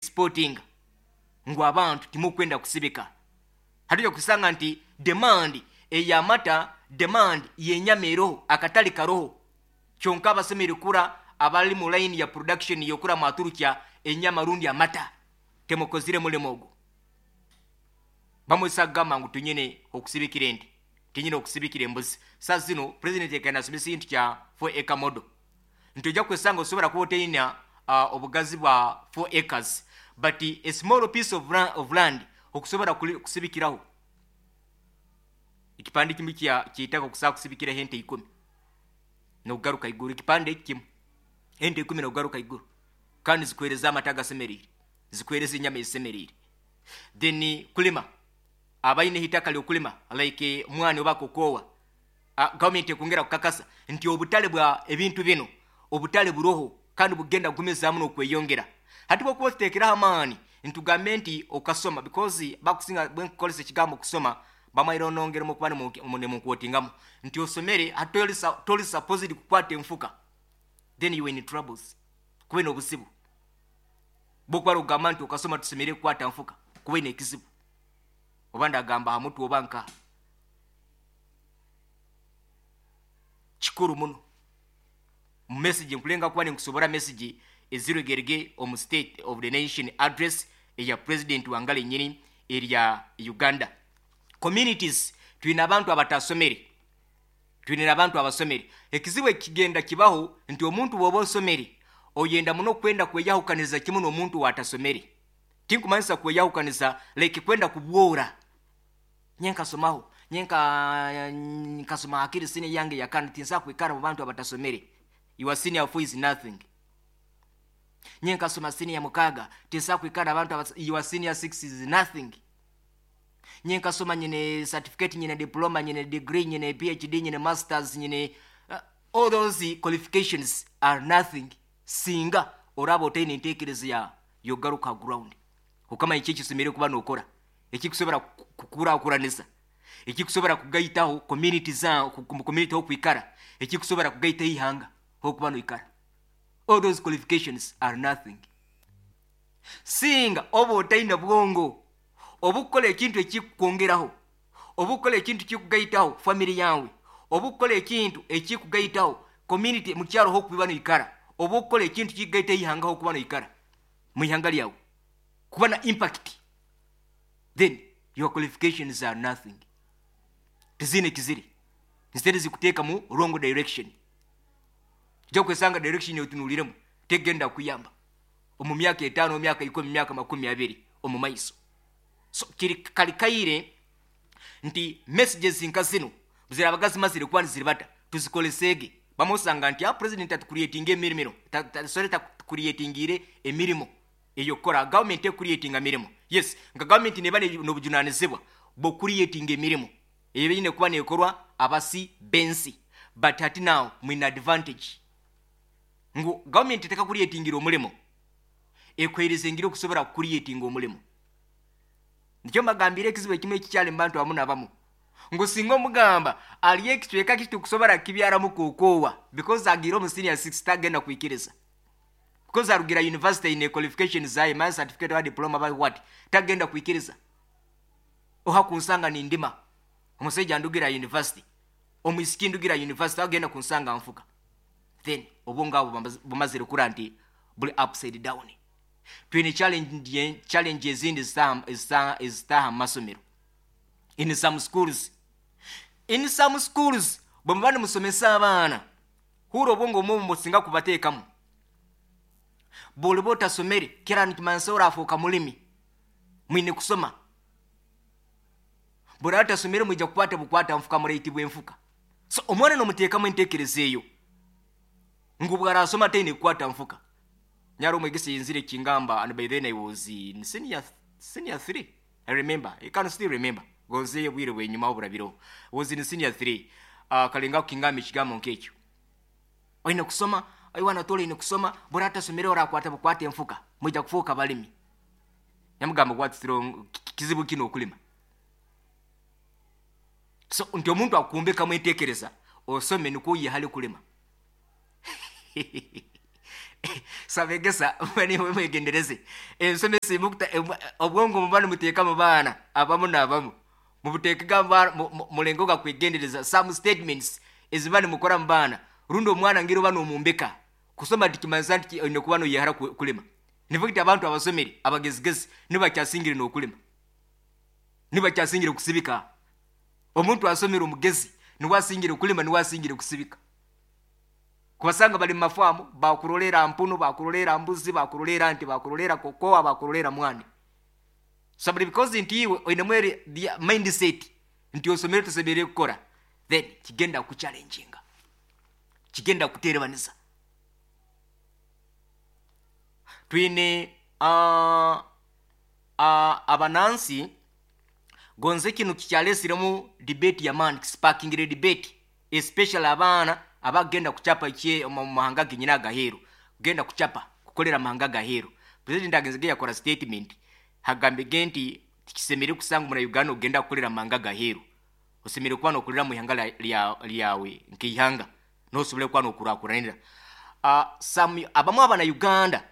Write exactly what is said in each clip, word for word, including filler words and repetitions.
Exporting ngu abantu timukwenda kusibika. Hatuja kusanga nti demand ey'amata, demand y'enyama eroho, akatale karoho. Kyonka abasemere kura abali mu line ya production yokura mwaturukya enyama rundi amata, temukozire mulimo ogwo. Bamwesa kugamba ngu tunyine okusibikira ente, tunyine okusibikira embuzi. Saa zino president ekanasomesa ekintu kya four acre model, nti ojja kwesanga osobola kuba oteina uh, obugazi bwa four acres, but a small piece of, of land okusobola kusibikiraho ekipande kimu kya kitaka okusobola kusibikiraho ente ikumi nokugaruka iguru. Ekipande eki kimu, ente ikumi nokugaruka iguru, kandi zikuhereza amata agasemeriire, zikuhereza enyama ezisemeriire. Then kulima, abaine itaka lyokulima like mwani oba kokowa, uh, gavumenti ekwongera kukakasa nti obutale bwa ebintu bino, obutale buroho kandi bugenda kugumizaamu n'okweyongera. Hati bwokuba otuteekeraho amaani, ntugambe nti okasoma, because bakusinga bwenkukolesa ekigambo kusoma bamaire onongeremu okuba nemunkwotingamu nti osomere, hati toli supposed kukwata enfuka, then you in troubles, kuba n'obuzibu. Bwokuba okugamba nti okasoma tusemere kukwata nfuka, kuba n'ekizibu, oba ndagamba ha mutwe oba nkaha. Kikuru muno mu message nkulenga kuba ninkusobora message eziregerege omu State of the Nation Address eya president wangala enyini erya Uganda. Communities, twine abantu abatasomere, twine abantu abasomere. Ekizibu ekigenda kibaho nti omuntu bw'oba osomere oyenda muno kwenda kweyahukaniza kimu n'omuntu watasomere. Tinkumanyisa kweyahukaniza like kwenda kubwora, nye nkasomaho, nye nkasoma akiri senior yange yakana, tinsa kwikara mu bantu abatasomere. Your senior four is nothing. Nye nkasoma senior mukaga, tinsa kwikara abantu. Your senior six is nothing. Nye nkasoma, nyine certificate, nyine diploma, nyine degree, nyine P H D, nyine masters, nyine uh, all those qualifications are nothing singa oraba otaine enteekereza ya yogaruka ground, okamanya eki ekisomere kuba nokora, ekikusobora kukurakuranisa, ekikusobora kugaitaho community za community hokwikara, ekikusobora kugaitaho ihanga hokuba noikara. All those qualifications are nothing singa oba otaine bwongo obukukola ekintu ekikukwongeraho, obukukola ekintu kikugaitaho family yawe, obukukola ekintu ekikugaitaho community mukyaro hokuba noikara, obukukola ekintu kikugaitaho ihanga hokuba noikara, mu ihanga lyawe kuba na impact, then your qualifications are nothing. Tizine kiziri, instead zikuteeka mu wrong direction. Ojja kwesanga direction yotunuliremu tegenda kuyamba omu myaka etaano, myaka ikumi, myaka makumi abiri omu maiso. So kiri kalikaire nti messages nka zino zirabaga zimazire kuba niziribata, tuzikolesege. Bamusanga nti a president atucreatinga emirimo, sorry, tatucreatingire emirimo eyokukora. Government ecreatinga mirimo, yes, nka government neba n'obujunanizibwa bw'ocreatinga emirimo eyo biine kuba nekorwa abasi bensi. But hati now mwine advantage ngu government tekakucreatingira omulimo, ekwehereza engeri okusobora kucreatinga omulimo. Nikyo mbagambire ekizibu ekimu ekikyali mu bantu abamu nabamu, ngu singa omugamba ali ekicweka kitukusobora kibyaramu kokowa, because agiire omu senior six, tagenda kwikiriza, because arugira university ine qualification zaye, my certificate wa diploma by what, tagenda kwikiriza. Oha kunsanga nindima, omusajja ndugira university, omwisiki ndugira university, agenda kunsanga nfuka. Then obwongo abo bumazire kura nti buli upside down. Twine challenge challenge ezindi ezitaha mu masomero. In some schools in some schools bwe muba nimusomesa abaana, hura obwongo omwe musinga kubateekamu, bwoliba otasomere kera nikimanyisa orafuuka mulimi. Mwine kusoma. Bwolaba tasomere, mwija kukwata bukwata nfuka, muraitibwa enfuka. So omwana nomuteekamu enteekereza eyo ngu bwarasoma taine kukwata nfuka. Nyari omwegesa yenzire kingamba, and by then I was in senior senior three. I remember, I can still remember, gonze bwire bwenyuma oburabireho, was in senior three. uh, kalenga kukingamba ekigambo nk'ekyo, oine kusoma, oiwana tola ine kusoma, bwora atasomere orakwata bukwata enfuka, mwija kufuuka balimi. Nyamugamba, what's wrong? Kizibu kino okulima? So nti omuntu akumbekamu enteekereza osome nikwo oyehale kulima. Sabegesa mwegendereze ensomesa emukuta obwongo muba nimuteeka mu baana abamu n'abamu mubuteekega mulengo ga kwegendereza some statements eziba nimukora mu baana. Rundi omwana ngeri oba nomumbeka kusoma tikimanyisa nti oine kuba noyehara kulima. Nivugiti abantu abasomere abagezigezi nibakyasingire n'okulima, nibakyasingire kusibika. Omuntu asomere omugezi niwe asingire kulima, niwe asingire kusibika. Kubasanga bali mu mafaamu bakurolera mpunu, bakurolera mbuzi, bakurolera nti, bakurolera kokoa, bakurolera mwani. Sabuli because nti iwe oinemu eri mindset nti osomere tosemere kukora, then kigenda kuchallenginga, kigenda kuterebaniza. Twine uh, uh, abanansi gonze kino kikyalesiremu debate ya man sparking debate, especially abaana abagenda kuchapa kye mu mahanga genyina agaheru, genda kuchapa kukolera mahanga gaheru. President agenzege yakora statement hagambe nti tikisemere kusanga muna Uganda ogenda kukolera mahanga gaheru, osemere kuba nokulira mu ihanga lyawe nk'ihanga nosobole kuba nokurakuranira. Uh, some abamu abana Uganda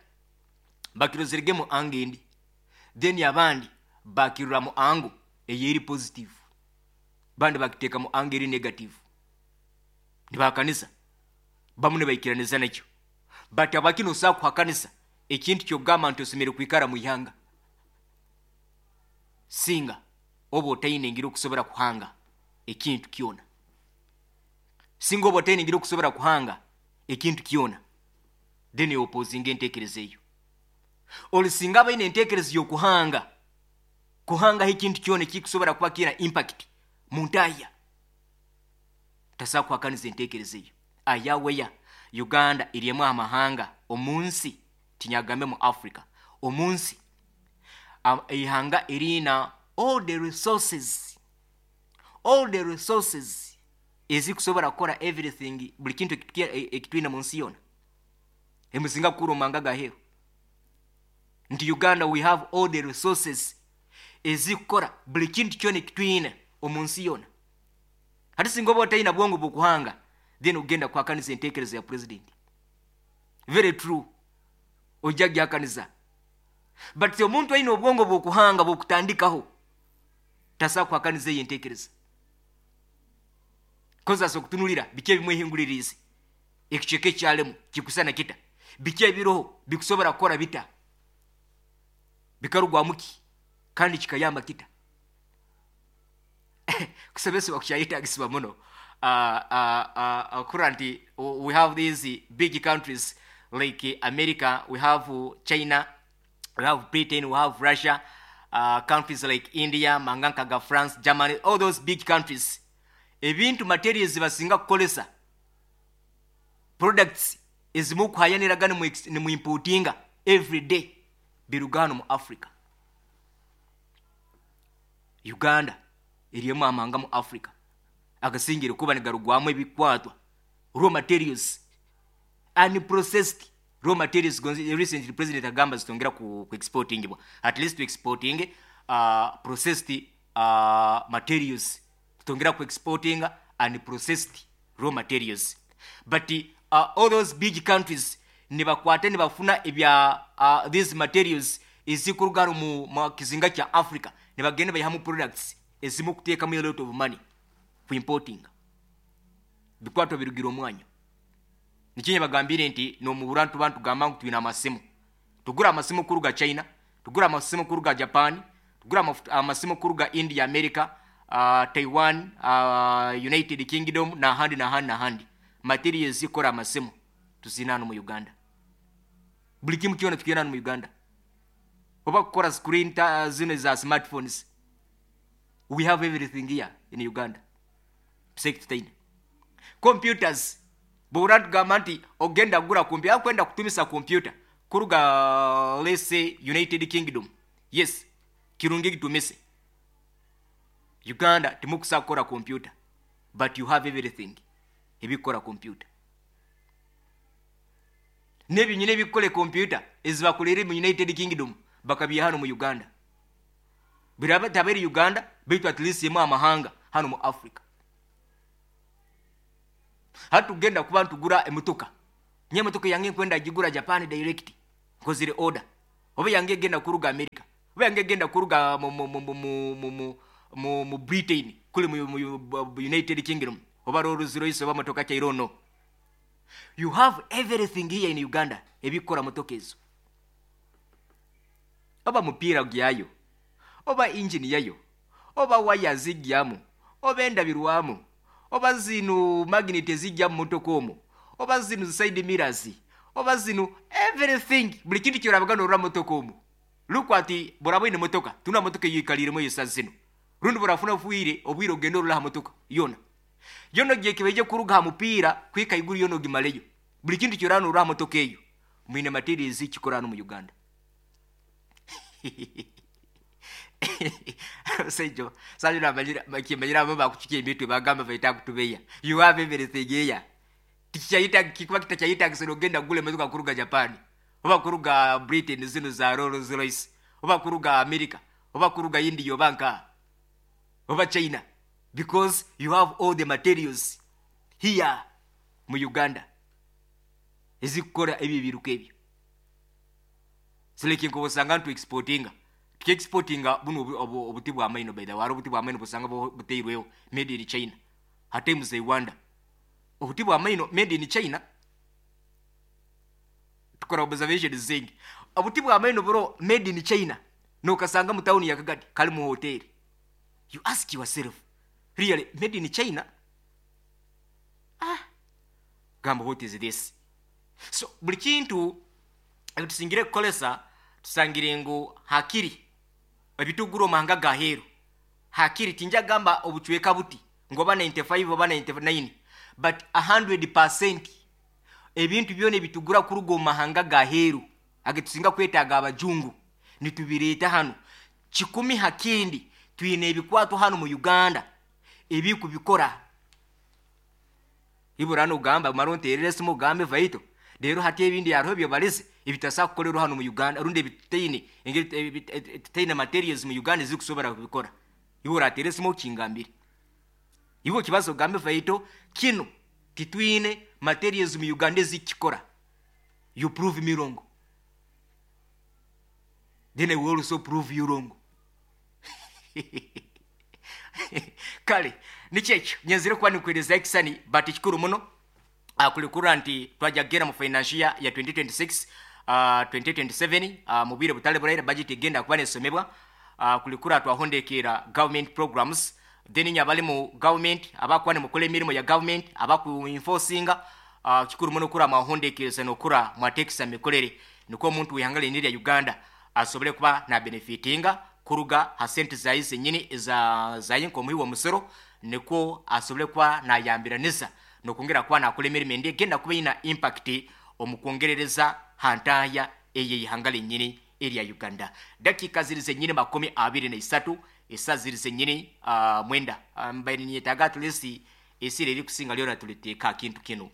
bakirozerege mu angendi, then abandi bakirura mu ango eyeri positive, bandi bakiteka mu ango eri negative. Nibakanisa bamu nibaikiraniza nakyo, but abakino sa kuhakanisa ekintu kyogamba nti osemere kwikara mu ihanga singa oba otaine ngiri okusobora kuhanga ekintu kyona, singa oba otaine ngiri okusobora kuhanga ekintu kyona, then opposinga entekereza eyo. Olusinga abaine entekereza y'okuhanga kuhangaho ekintu kyona ekikusobora kuba kiina impact mu ntaya, tasobola kuhakaniza entekereza eyo. Ayaweya Uganda eriemu amahanga omunsi, tinyagambe mu Africa, omunsi ihanga erina all the resources, all the resources ezikusobora kukora everything, buli kintu ekitwina mu nsi yona emusinga kukura omumahanga gaheru. Nti Uganda we have all the resources ezikukora buli kintu kyona ekitwina omu nsi yona. Hati singa oba otaina bwongo bw'okuhanga, then ogenda kuhakaniza entekereza ya president. Very true, ojja gyakaniza. But omuntu aine obwongo bw'okuhanga bw'okutandikaho tasobola kuhakaniza eyo entekereza, kozi asobola okutunulira biki ebimwehinguliriize, ekicweka ekyalemu kikusana kita, biki ebiroho bikusobora kukora bita, bikarugwamu ki kandi kikayamba kita. Kusomesebwa kukyayetagisibwa muno. Uh, uh, uh, currently we have these big countries like America, we have China, we have Britain, we have Russia, uh, countries like India, mangankaga France, Germany, all those big countries. Ebintu materials basinga kukolesa, products ezimu kuhayaniraga nimu importinga every day biruga hano mu Africa. Uganda eriemu amahanga mu Africa agasingire kuba nigarugwamu ebikwatwa raw materials, unprocessed raw materials. Recently president agamba zitongera ku, ku exportingibwa, at least to exporting uh, processed uh, materials, tutongera ku exporting unprocessed raw materials. But uh, all those big countries nibakwate nibafuna ebya uh, these materials ezikuruga mu, mu kizinga kya Africa, nibagenda bayihamu products ezimu kuteekamu a lot of money ku importing bikwatwa birugira omwanya. Nikinye bagambire nti nomubura ntuba ntugamba ngu twina amasimu, tugura amasimu kuruga China, tugura amasimu kuruga Japan, tugura amasimu kuruga India, America, uh, Taiwan, uh, United Kingdom n'ahandi n'ahandi n'ahandi. Materials zikora amasimu tuzina hano mu Uganda, buli kimu kyona tukiyina hano mu Uganda. Oba kukora screen ta zino za smartphones, we have everything here in Uganda. Tutaine computers, bw'obura tugamba nti ogenda kugura kompyuta, akwenda kutumisa kompyuta kuruga let's say United Kingdom, yes kirungi kitumise. Uganda timukusa kukora kompyuta, but you have everything ebikora kompyuta. N'ebinyina ebikora kompyuta ezibakolere mu United Kingdom bakabiha hano mu Uganda. Biraba taberi Uganda baitu at least emu amahanga hano mu Africa. Hati tugenda kuba ntugura emotoka Nye motoka yange nkwenda gigura Japan direct, nkozire order. Oba yange egenda kuruga America, oba yange egenda kuruga mu, mu, mu, mu, mu, mu, mu, mu, mu Britain, kuli mu, mu, mu United Kingdom, oba Rolls Royce oba motoka ki, I don't know. You have everything here in Uganda ebikora motoka ezo, oba mupiira gyayo, oba engine yayo, oba waya zijjamu, oba endabirwamu, oba zino magnet ezijja mu motoka omwo, oba zino side mirrors, oba zino everything, buli kintu kyorabaga norora motoka omwo. Lukwati buraba ine motoka tuna motoka eyikaliremu eyesa zino, rundi burafuna bwire obwire ogenda orora ha motoka yona yono gyekibeje kuruga ha mupiira kwika iguru yono gimaleyo. Buli kintu kyorana orora ha motoka eyo mwine materials kikora hano mu Uganda. Sejo sanyu namanyira kimanyira abo bakuchukia emitwe bagamba baita kutubeya. You have everything here. Tikichayita kikuba kitachaita kisoro genda gule motoka kuruga Japan, oba kuruga Britain zino za Rolls Royce, oba kuruga America, oba kuruga India, oba nka oba China, because you have all the materials here mu Uganda ezikukora ebyo ebiruka ebyo. Sileki nkobosanga ntu exportinga, tukiexportinga buno obuti bwa maino. By the way, obuti bwa maino busanga buteirweho made in China. Hate muze Rwanda obuti bwa maino made in China. Tukora observation zingi, obuti bwa maino bro made in China nokasanga mu town ya Kagadi kali mu hotel. You ask yourself, really made in China? Ah, gamba what is this? So buli kintu ebitusingire kukolesa tusangire ngu hakiri ebitugura omahanga gaheru hakiri tinja gamba obuchweka buti ngo oba ninety-five oba ninety-nine, but a hundred percent ebintu byona ebitugura kuruga omahanga gaheru agetusinga kwetaaga abajungu nitubireeta hano. Kikumi hakindi twine ebikwato hano mu Uganda ebikubikora. Iburano ugamba maronterere simu ugambe vaito rero hati ebindi yariho byobalize ebitasa kukorerwa hano mu Uganda, rundi ebitaine engeri ebitaine materials mu Uganda zikusobora kubikora. Iwe uratere simu kingambire iwe kibazo ugambe vaito kino titwine materials mu Uganda zikikora. You prove me wrong, then I will also prove you wrong. Kale nikyekyo nyenzire kuba nikwereza ekisani, but kikuru muno akulikura nti twajagera mu financial year ya twenty twenty-six, uh, twenty twenty-seven, uh, mu bwire butale buraira budget egenda kuba nesomebwa. uh, kulikura twahondekera government programs, then nyabali mu government abakuba ne mukole emirimu ya government abaku enforcinga, uh, kikuru muno kura mwahondekereza nokura mwatekisa mikorere niko omuntu wihangale nirya Uganda asobole kuba na benefitinga kuruga ha sente zayi zenyini za zayi nkomuhi wa musoro, niko asobole kuba nayambiranisa nokongera kuba nakora emirimo endi egenda kuba ina impact omukwongerereza hantaya eye ihanga lenyini erya Uganda. Dakika ziri zenyini makumi abiri na isatu, esa ziri zenyini uh, mwenda mbaire niyetaaga at least esire eri kusinga lyona tuliteeka kintu kino.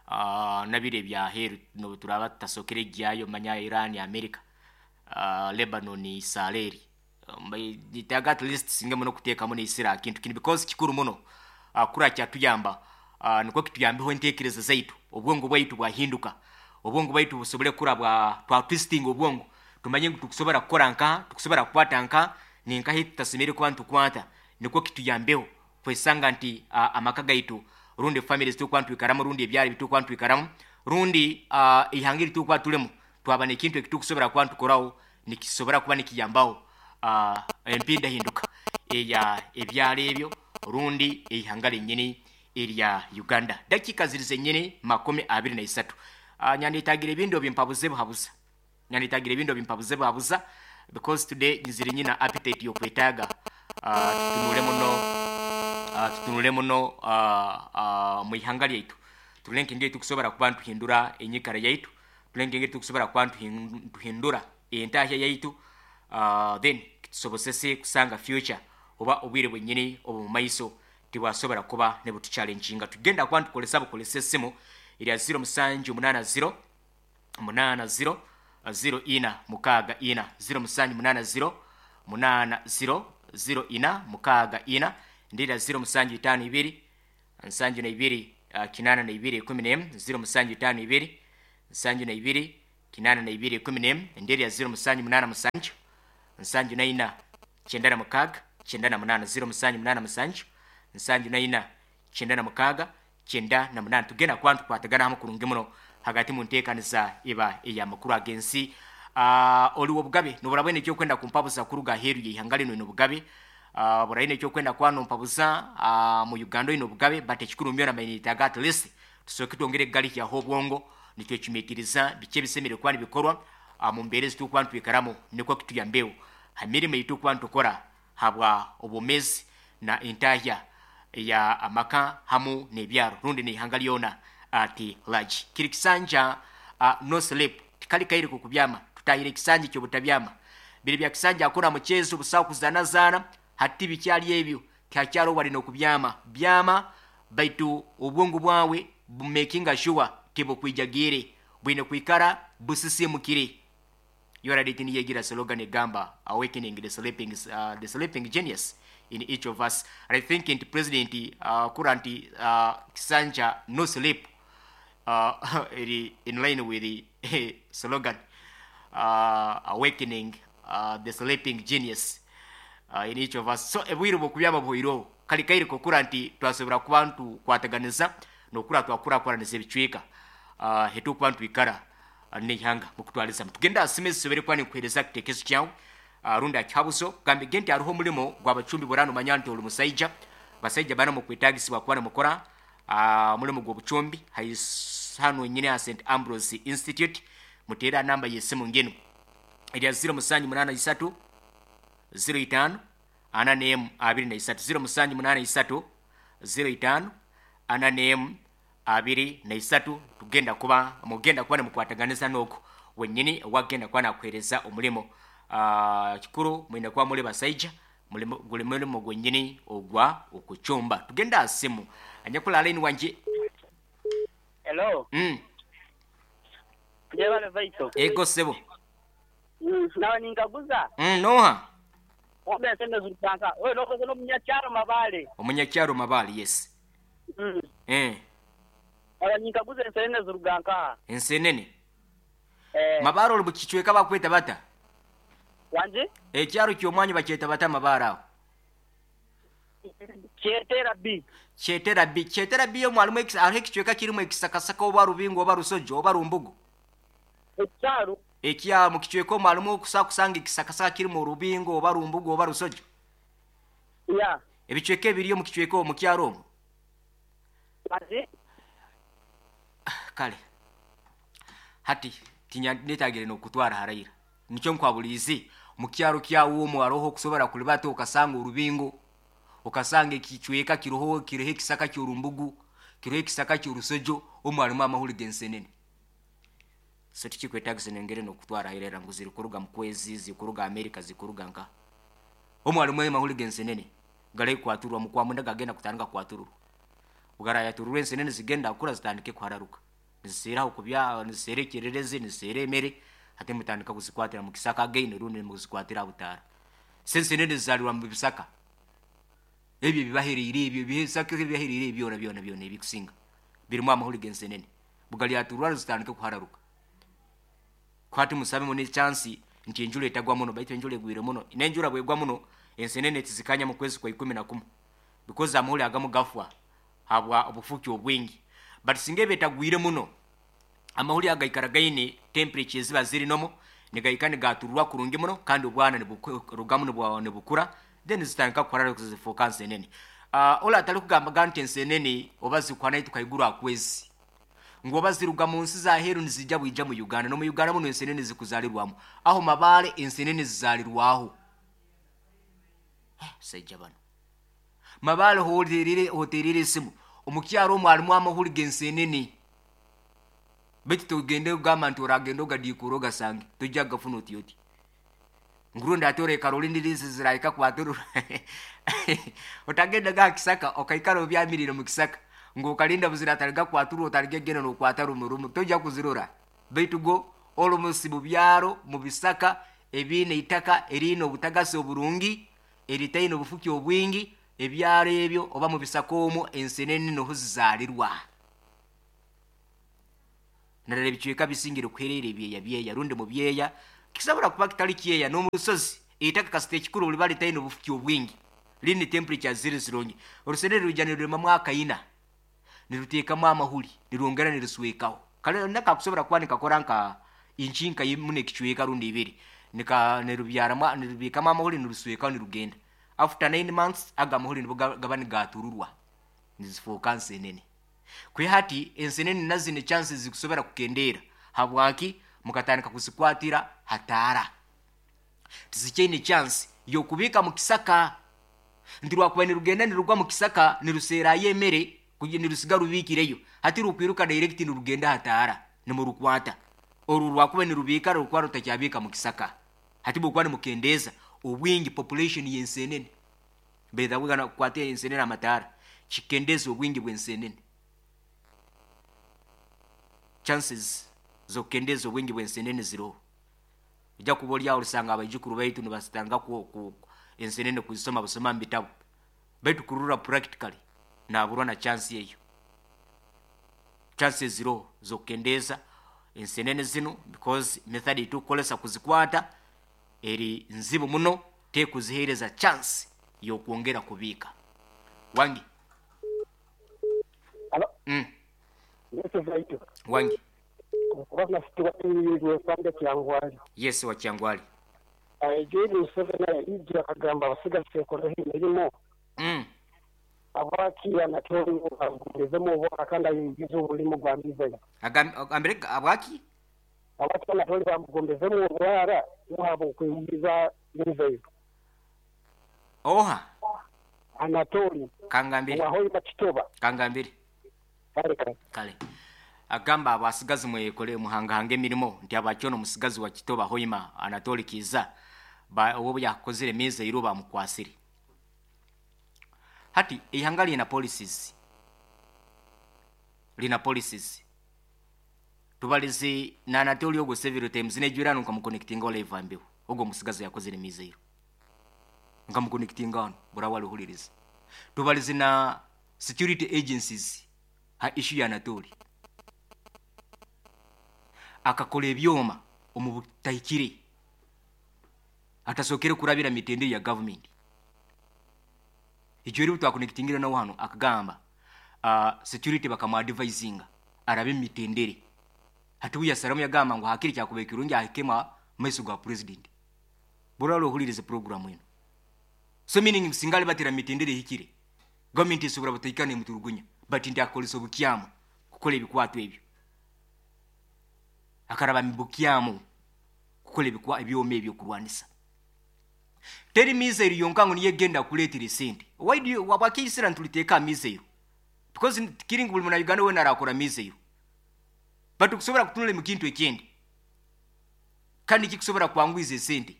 Uh, nabire bya heru no turaba tutasokere gyayo manya Iran, America, uh, Lebanon, Israel. Mbaire niyetaaga at least singa muno kuteekamu n'esira kintu kino because kikuru muno. Uh, kura kyatuyamba, uh, niko kituyambiho enteekereza zaitu, obwongo bwaitu bwahinduka, obwongo bwaitu busobole kura bwa twa twisting obwongo, tumanye ngu tukusobora kukora nka tukusobora kukwata nka ninkahi tutasemere kuba ntukwata, niko kituyambeho kwesanga nti uh, amaka gaitu rundi families tukuba ntwikaramu, rundi ebyaro bitukuba ntwikaramu, rundi uh, ihanga eritukuba tulemu, twaba n'ekintu ekitukusobora kuba ntukoraho nikisobora kuba nikiyambaho uh, empindahinduka eya ebyaro ebyo rundi eihanga lenyini erya Uganda. Dakika ziri zenyini makumi abiri na isatu. Uh, nyanditagira ebintu bimpabuze buhabuza, nyanditagira ebintu bimpabuze buhabuza because today nziri nyina appetite yokwetaaga. uh, tutunule muno, uh, tutunule muno uh, uh, mu ihanga lyaitu, tulenke engeri tukusobora kuba ntuhindura enyikara yaitu, tulenke engeri tukusobora kuba ntuhindura entahya yaitu, uh, then kitusobosese kusanga future oba obwire bwenyini obu maiso tibwasobora kuba ne butuchallenginga. Tugenda kuba ntukolesa bukolesa esimu erya zero musanju munana zero munana zero zero ina mukaaga ina, zero musanju munana zero munana zero zero ina mukaaga ina, ndira zero musanju itaano ibiri nsanju na ibiri uh, kinana na ibiri ikumi n'emu ziro musanju itaano ibiri nsanju na ibiri kinana na ibiri ikumi n'emu enderi ya ziro musanju munaana musanju nsanju na ina kyenda na mukaaga kyenda na munaana ziro musanju munaana musanju nsanju na ina kyenda na mukaaga kyenda na munaana. Tugenda kuba ntukwatagana hamu kurungi muno hagati mu nteekaniza eba ey'amakuru ag'ensi. Uh, oliwo obugabe nobura bwine ekyokwenda kumpabuza kuruga aheeru y'eihanga lino ine obugabe uh, buraine ekyokwenda kuba nompabuza uh, mu Uganda oine obugabe, but ekikuru myona mainitaga at least tusooke twongere kugalihyaho obwongo nitwecumitiriza biki ebisemere kuba nibikorwa uh, mu mbeera ezitukuba nitwikaramu nikwo kituyambeho ha mirimo eyitukuba nitukora habwa obwomezi na entahya ya amaka hamu n'ebyaro rundi n'eihanga lyona ati large. Kiri kisanja uh, no sleep tikali kaire kukubyama tutahire ekisanja ky'obutabyama biri bya kisanja akora muchezo busawo kuzanazana hati bikyali ebyo tyakyalo wali n'okubyama byama baitu obwongo bwawe bumakinga sure tibukwijagire bwine kwikara busisimukire. Yoraditi niyegira slogan egamba awakening the sleeping, uh, the sleeping genius in each of us. And I think nti president uh, current uh, kisanja no sleep uh, eri in line with the slogan uh, awakening uh, the sleeping genius uh, in each of us. So ebwire bwokubyama buhwireho kali kaire kokura nti twasobora kuba ntukwataganiza nokura twakurakuraniza ebicweka uh, hetukuba ntwikara uh, n'eihanga mukutwaliza. Tugenda asime zisobere kuba ninkuheereza kitekezo kyawe uh, rundi akihabuzo gambe gente hariho omulimo gw'abacumbi burano manya nti oli musaija basaija bana mukwetagisibwa kuba nimukora uh, omulimu gw'obucumbi hano nyine ha Saint Ambrose Institute. Muteera namba y'essimu ngeno erya ziro musanju munaana isatu ziro itaano ana n'emu abiri na isatu ziro musanju munaana isatu ziro itaano ana n'emu abiri na isatu. Tugenda kuba mugenda kuba nimukwataganiza n'ogwo wenyini wagenda kuba nakuheereza omulimo. Uh, kikuru mwine kuba muli basaija mulimo guli mulimo gwenyini ogwa okucumba. Tugenda asimu anyakula line wanje. Hello. Mm. Jebale vaito. Ego sebo. Mm, nawe ninkaguza. Mm, noha. Ombe sende zulupanka. Wewe loko no munyakyaro Mabale. Omunyakyaro Mabale, yes. Mm. Eh. Nawe ninkaguza ensenene zuruganka. Ensenene. Eh. Mabaro oli bukichweka bakweta bata. Wanje? Ekyaro ky'omwanyi bakyeta bata Mabare aho. Kyetera B. Kyetera B. Kyetera B yo mwalimu ekisa aho ekichweka kirimu ekisakasaka oba rubingo oba rusojo oba rumbugu. Ekyaro ekya mu kichweka mwalimu okusa kusanga ekisakasaka kirimu rubingo oba rumbugu oba rusojo. Ya. Ebichweka ebiriyo mu kichweka mu kyaro omwo. Wanje? Kale. Hati tinya netagire nokutwara harayira. Nikyo nkwabulizi mu kyaro kyawo omwo aroho kusobora kulibata okasanga orubingo okasanga ekichweka kiroho kiroho ekisaka ky'orumbugu kiroho ekisaka ky'orusojo omwalimu amahuri g'ensenene. So tikikwetagisa nengere nokutwara harayira ngu zirikuruga mu kwezi zikuruga Amerika zikuruga nka omwalimu amahuri g'ensenene gale kwaturwa mu kwamunda gagenda kutandika kwatururwa bugarayatururwa ensenene zigenda kukura zitandike kuhararuka niziseraho kubya nizisera ekyererezi nizisera emere ate mutandika kuzikwatira mu kisaka again rundi muzikwatira butara sensenene zizalirwa mu bisaka ebyo bibaherire ebyo bisaka bibaherire byona byona byona ebikusinga birimu amahuri g'ensenene bugali aturwa zitandike kuhararuka kwati musabe mu chance nti enjula etagwa muno baitu enjula egwire muno n'enjula bwegwa muno ensenene tizikanya mu kwezi kwa ikumi na kumu because amahuri agamu gafwa habwa obufuki obwingi but singa ebetagwire muno amahuri agaikara gaine temperature ziba ziri nomo nigaika nigaturwa kurungi muno kandi obwana niburugamu nibukura then zitandika kuharara kuzifuuka nsenene. Uh, ola atali kugamba nti ensenene oba zikwana tukaigura akwezi ngu oba ziruga mu nsi za heru nizijja bwijja mu Uganda no mu Uganda muno ensenene zikuzalirwamu aho Mabale ensenene zizalirwaho sajja bano Mabale hoterire hoterire esimu omukyaro omwalimu amahuri g'ensenene baitu tugende kugamba nti oragenda ogadikura ogasange tojja gafuna oti oti ngurundi ate orekara olindirizi zirahika kwaturura otagenda ga kisaka okaikara obyamirire mu kisaka ng'okalinda buzira ataliga kwaturura otaliga genda n'okwata rumu rumu tojja kuzirora baitu go olumusi mu byaro mu bisaka ebiine itaka eriine obutagasi oburungi eritaine obufuki obwingi ebyaro ebyo oba mu bisaka omwo ensenene noho zizaalirwa. Narara ebicweka bisingire kuherera ebyeya byeya rundi mu byeya kisobora kuba kitali kyeya n'omurusozi eitaka kasita ekikuru liba litaine obufuki obwingi line temperature ziri zirungi. Orusenene rwija nirulimamu akaina niruteekamu amahuri nirwongera niruswekaho kale nakakusobora kuba nikakora nka inchi nka imu n'ekicweka rundi ibiri nika nirubyaramu nirubikamu amahuri niruswekaho nirugenda. After nine months aga amahuri nibo gaba nigatururwa nizifuuka nsenene. Kwe hati ensenene nazino chances zikusobora kukendeera habwaki mukatandika kuzikwatira hataara tizikyaine chance y'okubiika mu kisaka nti rwakuba nirugenda nirugwa mu kisaka niruseerayo emere nirusiga rubiikireyo hati rukwiruka direct nirugenda hataara nimurukwata oru rwakuba nirubiika rukuba rutakyabiika mu kisaka hati bwokuba nimukendeeza obwingi population y'ensenene betha wigana kukwata ensenene amataara kikendeza obwingi bw'ensenene. Chances z'okukendeza obwingi bw'ensenene ziroho. Ojja kuba oli awo olisanga abaijukuru baitu nibasitanga ku, ku ensenene kuzisoma busoma mu bitabu baitu kurura practically naburwa na chance eyo. Chances ziroho z'okukendeza ensenene zino because method etukukolesa kuzikwata eri nzibu muno tekuzihereza chance y'okwongera kubiika. Wangi. Alo. Mm. Yesu. Wangi. Kubana sitiwa Kyangwali. Yes, wa Kyangwali. Ayegere Museveni ijja akagamba abasigazi kola emirimu. Mm. Abaki Anatoli bagumizemu obwaka kandi ayingiza omulimu gwa mizero. Agambire abaki? Abaki Anatoli bamugombezemu obwara muhabo okuyingiza mizero. Oha. Anatoli. Kangambire. Wahoyi Bakitoba. Kangambire. Kale kale. Kale. Agamba abasigazi mwekole muhangahanga emirimo nti abakyono musigazi wa Kitoba Hoima Anatoli Kiza ba obo yakozere meza iro bamukwasire. Hati ihanga lina policies. Lina policies. Tubalizi na Anatoli ogo several times nejurano nkamuconnectinga live ambeho. Ogo musigazi yakozere meza iro. Nkamuconnectinga ono burawali huliriza. Tubalizi na security agencies ha issue ya Anatoli. Akakola ebyoma omu butahikire atasokere kurabira mitende ya government. Ijyo eri twakonectingira nawo hano akagamba uh, security bakamu-advisinga arabe mitendere. Hati uya salamu yagamba ngo hakiri kyakube kirungi ahikema maiso ga president. Buralo hulirize program eno. So meaning singali batira mitendere hikire government isobora butaikane muturugunya but ndi akolesa obukyamu kukola ebikwato ebyo. Akaraba mibukyamu kukola ebikwa ebyoma ebyo kurwanisa. Teri mizero yonka ngo niyegenda kuletera sente. Why do you wabakisira ntuliteka mizero? Because kiringi buli muna Uganda wena arakora mizero. But kusobora kutunula mu kintu ekindi. Kandi kikusobora kwangwiza sente.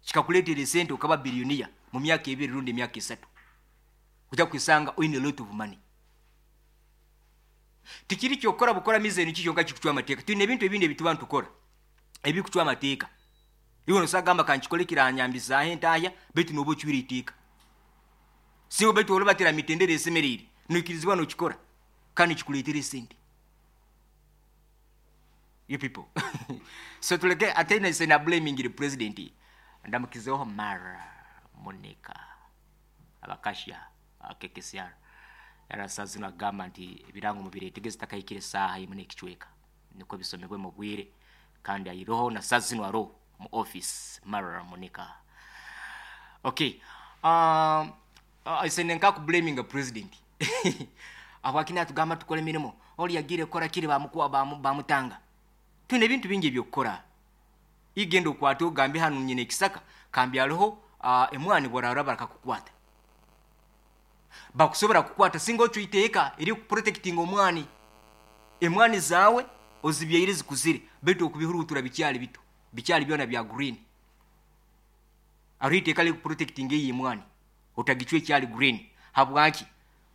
Kikakuletera sente okaba billionaire mu myaka ebiri rundi emyaka esatu. Ujja kwisanga oine lot of money. Tikiri kyokora bukora mizero nikyo kikucwa amateeka. Twine ebintu ebindi ebituba ntukora. Ebikucwa amateeka. Iwe nosagamba kanchikole kiranyambiza hentaya betu nobo chwiri itika. Siwo betu olobatira mitendere esemerere. Nukirizibwa nokikora. Kandi kikuletere sente. You people. So tuleke atena sena blaming the president. Ndamukizeho Mara Monica abakashia K K C R. Era sazina gamba nti ebirango mubire tegeze takayikire saha imwe n'ekicweka. Niko bisomebwe mu bwire kandi ayiroho na sazino aro mu office Mara Monica. Okay. Um uh, senenka ku blaming the president. Abakina tugamba tukole mirimo. Oli yagire kora kiri bamukuwa bamutanga. Tune ebintu bingi ebyokukora. Igenda okwata ogambe hano nyine ekisaka kambi aliho uh, emwani bwarara barakakukwata. Bakusobora kukwata singa ocuiteeka eri protecting omwani. Emwani zawe ozibyaire zikuzire betu okubihurutura bikyali bito. Bikyali byona bya green. Ariteeka li protecting eyi emwani. Otagichwe kyali green. Habwaki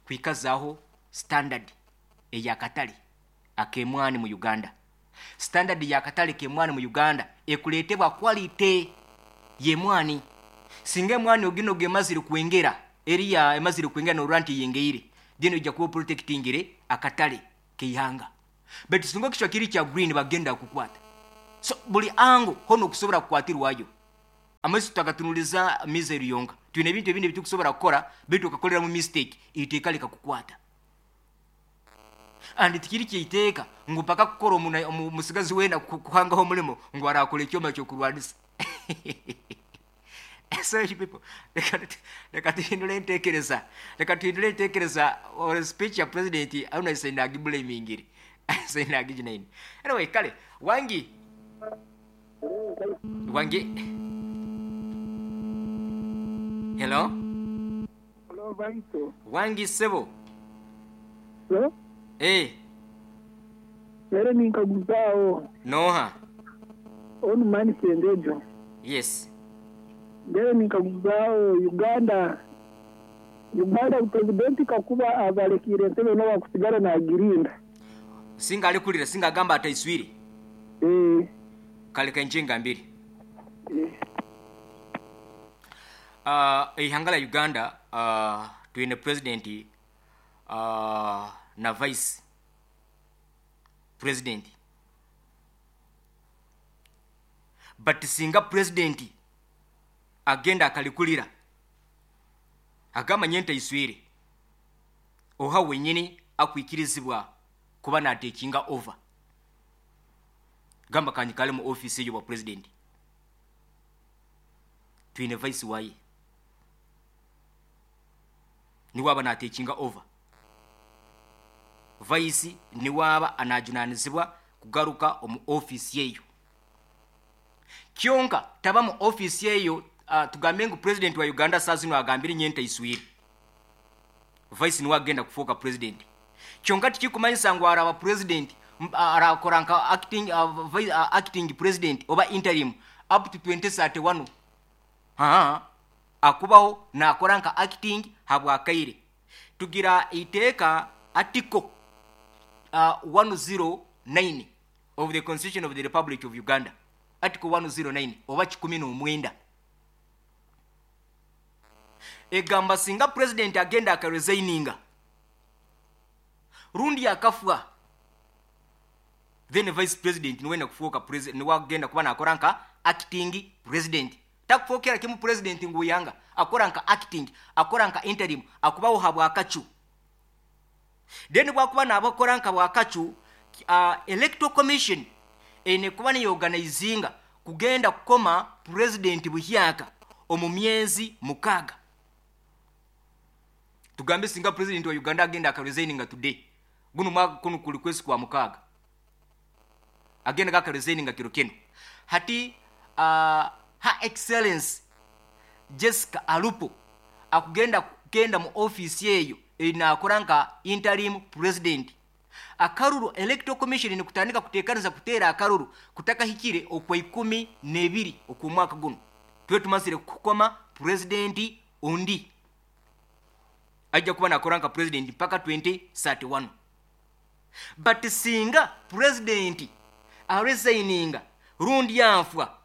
kwikazaho standard eyakatale akemwani mu Uganda. Standard yakatale kemwani mu Uganda ekuletebwa quality yemwani. Singa emwani ogino gemazire kuengera eriya emazire kuengera no ranti yengeire dino ija kuba protectingire akatale keihanga. Baitu singa okishwa kiri kya green, bagenda kukwata. So buli ango hono okusobola kukwatirwayo. Amaiso tutagatunuliza missile yonka, twine ebintu ebindi ebitukusobola kukora, baitu okakolera mu mistake, iteeka likakukwata. And tikiri kyeiteeka ngu mpaka kukora omusigazi wena kuhangaho omulimo ngu arakora ekyoma kyokurwanisa. So you people, leka tuhindule entekereza, leka tuhindule entekereza. Or speech ya president auna sendagiblamingire sendagijinaini. Anyway, kale wangi wangi. Hello. Hello, Baito. Wangi sebo. Hello. Eh. Lero ninkaguzao. Noha. Onu mani sendejo. Yes. Lero ninkaguzao Uganda. Uganda presidenti kakuba abalekire entebe no bakusigara na girinda. Singa alikulira, singa agamba ataiswire. Eh. Kale kenjenga mbiri. Eh. Uh, ihanga la Uganda uh, twine president uh, na vice president. But singa president agenda akalikulira agamba nyenta iswire, oha wenyini akwikirizibwa kuba na taking over. Gamba kanyikale mu office yo president. Twine vice waye niwaba na taking over. Vice niwaba anajunanizibwa kugaruka omu office yeyo. Kyonka taba mu office yeyo. Uh, tugambe ngu president wa Uganda sasa agambire nyenta iswire, vice niwa agenda kufoka president. Kyonka tikikumanyisa ngu araba president arakora nka acting, uh, vice, uh, acting president oba interim up to twenty thirty-one. Ha akubaho nakora nka acting habwakaire. Tugira iteeka article uh, one oh nine of the Constitution of the Republic of Uganda. Article one oh nine oba kikumi n'omwenda egamba singa president agenda akaresigninga rundi akafwa, then vice president niwenda kufuoka president, niwagenda kuba nakora nka acting president. Takufokera kimu president nguyanga akora nka acting, akora nka interim, akubaho habwakachu. Then bwakuba nabakora nka bwakachu, uh, electoral commission ene kuba ni organizinga kugenda kukoma president buhyaka omu myezi mukaga. Tugambe singa president wa Uganda agenda akaresigninga today, guno mwaka kuno kuli kwesi kwa mukaga, agenda akaresigninga kiro kino. Hati uh, Her Excellence Jessica Alupo akugenda kugenda mu office yeyo inakora nka interim president. Akaruru electoral commission ni kutandika kutekaniza kutera akaruru kutaka hikire okwa ikumi nebiri okumwaka guno. Tuwe tumasire kukoma president ondi ajja kuba nakora nka president mpaka twenty thirty-one. But singa president aresigninga rundi yanfwa,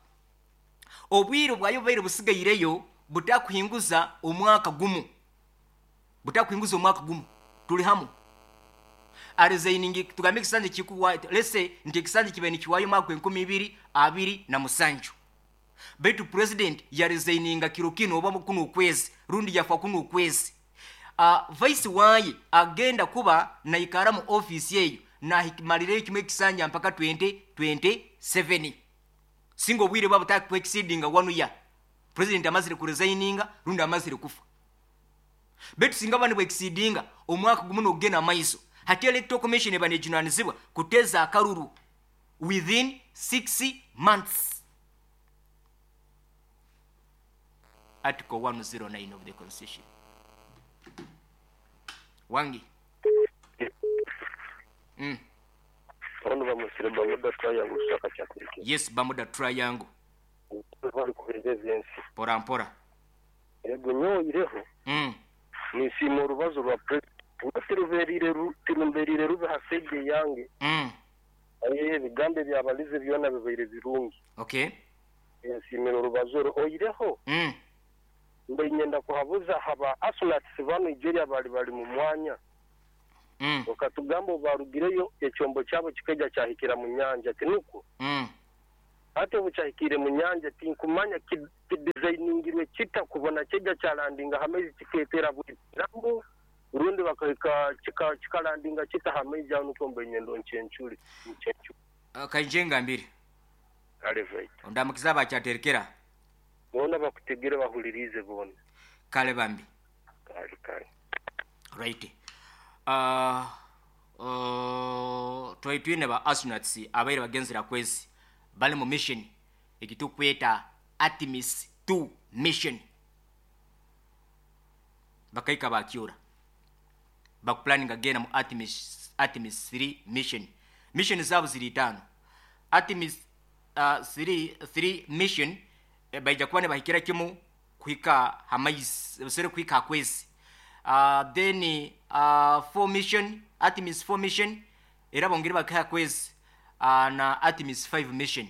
obwiro bwayo baire busigaireyo butakuhinguza omwaka gumu. Butakuhinguza omwaka gumu. Tuli hamu. Aresigningi tugambe kisanje kikuwa, let's say nti kisanje kibe ni kiwayo mwaka enkumi ibiri abiri na musanju. Baitu president yaresigninga kiro kino oba kuno kwezi rundi yafa kuno kwezi. Uh, vice waye agenda kuba na ikara mu office yeyo na hikimalireyo kimwe kisanja mpaka twenty twenty-seven. Singo bwire babo ta exceeding one year. President amazire kuresigninga rundi amazire kufa. Betu singa bani exceedinga omwaka gumu n'ogenda maiso. Hati electoral commission ebanejunanizibwa kuteza akaruru within six months. Article one oh nine of the Constitution. Wangi. Mm. Yes, Bamuda Triangle. Pora mpora. Mm. Nisimo rubazo rwa president tiruberire tirumberire rube hasege yange. Mm. Aye bigambe byabalize byona bibaire birungi. Okay. Nsimiro rubazo oyireho. Mm. Mbe nyenda kuhabuza haba asunats ba Nigeria bali bali mu mwanya. Mm. Okatugamba obarugireyo ekyombo kyabo kikaija kyahikira mu nyanja, tinukwo? Mm. Ate obu kyahikire mu nyanja, tinkumanya kidizayiningirwe kita kubona kyejja kyalandinga hamaizi kiketera bwiramu rundi bakahika kikalandinga kita hamaizi aho, nukwo mbenyendo nchencuri nchencuri. Uh, kainjenga mbiri Kale vaita. Ondamukiza abakyaterekera. Bona bakutegere bahulirize bona. Kale bambi. Kale kale. Right. Uh, uh, twaitwine ba astronauts abaire bagenzera kwezi bali mu mission ekitukweta Artemis two mission, bakaika bakyura bakuplaninga genda mu Artemis, Artemis three mission. Mission zabo ziri itano. Artemis uh, three, three mission eh, baija kuba nibahikira kimu kuhika hamaizi busere kuhika hakwezi. Uh, then uh, four mission, Artemis four mission era bongere bakaha kwezi, uh, na Artemis five mission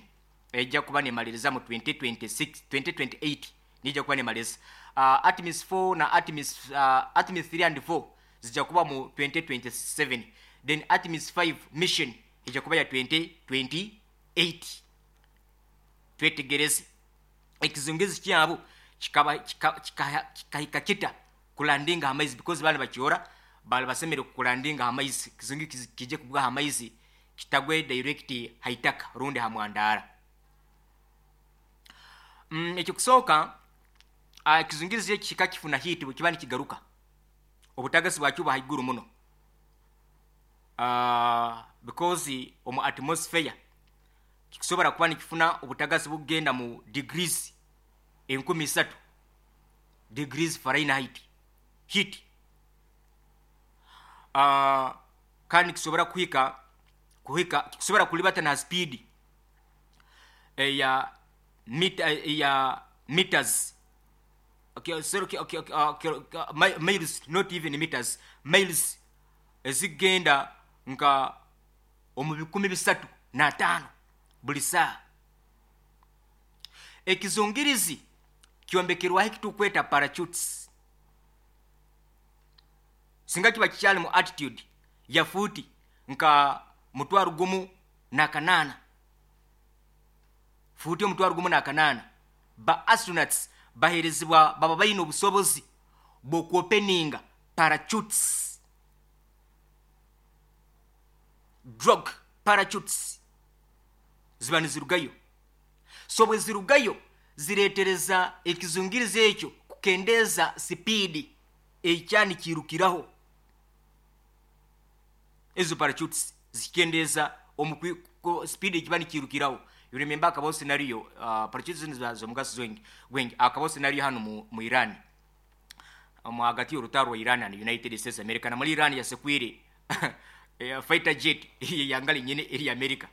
ejja kuba nemaliriza mu twenty twenty-six, twenty twenty-eight nijja kuba nemaliriza. Uh, Artemis four na Artemis, uh, Artemis three and four zijja kuba mu twenty twenty-seven, then Artemis five mission ejja kuba ya twenty twenty-eight. Twetegereze ekizungizi kyabo kikaba kikahika kita kulandinga amaizi, because bali bakiora bali basemere kulandinga amaizi, kizungi kije kubwa amaizi kitagwe direct haitaka rundi hamwandara. Mm, ekyo kusooka uh, kizungirizi kika kifuna hiti bwe kiba nikigaruka obutagasi bwakyo haiguru muno, uh, because omu atmosphere kikusobola kuba nikifuna obutagasi bugenda mu degrees enkumi isatu degrees Fahrenheit heat. Uh, kandi kisobora kuhika kuhika kisobora kulibata na speed eya mita ya meters, okay, sorry, okay, okay, okay, okay, miles, not even meters, miles ezigenda nka omu bikumi bisatu na tano buli saa. Ekizungirizi kyombekerwaho ekitukweta parachutes. Singa kiba kikyali mu altitude ya futi nka mutwaro gumu na kanana, futi omutwaro gumu na kanana, ba astronauts baherezibwa baba bayina obusobozi bw'okwopeninga parachutes, drug parachutes ziba nizirugayo. So bwe zirugayo ziretereza ekizungirizi ekyo kukendeza speed ekyani kirukiraho. Ezo parachutes zikendeza omu speed ekibani kirukiraho. You remember akabo scenario, uh, parachutes nizo zomugaso gwengi gwengi akabo scenario hano mu, mu Iran, mu hagati y'urutaro rwa Iran and United States America, na muri Iran yasekwire fighter jet yangali nyene eri America.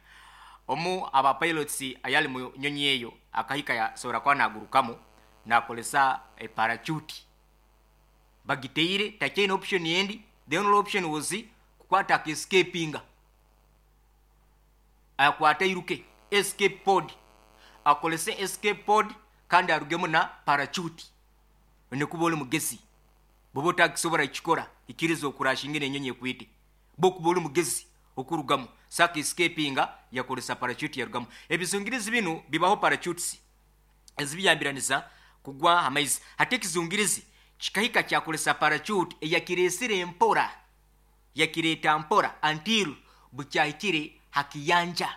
Omu aba pilots ayali mu nyonyi eyo akahika ya sora kwa nagurukamo nakolesa e parachute bagiteire tachain option yendi. The only option was kukwata escapinga akwata iruke escape pod, akolese escape pod kandi arugemo na parachute. Nekuba oli mugezi bobo takisobora kikora ikirizo okurashinga enyonyi ekwite bokuba oli mugezi okurugamo saka escapinga yakolesa parachute yarugamo. Ebizungirizi bino bibaho parachutes ezibiyambiraniza kugwa amaizi. Hati ekizungirizi kikahika kyakolesa parachute eyakiresire empora yakireta mpora until bukyahikire hakiyanja.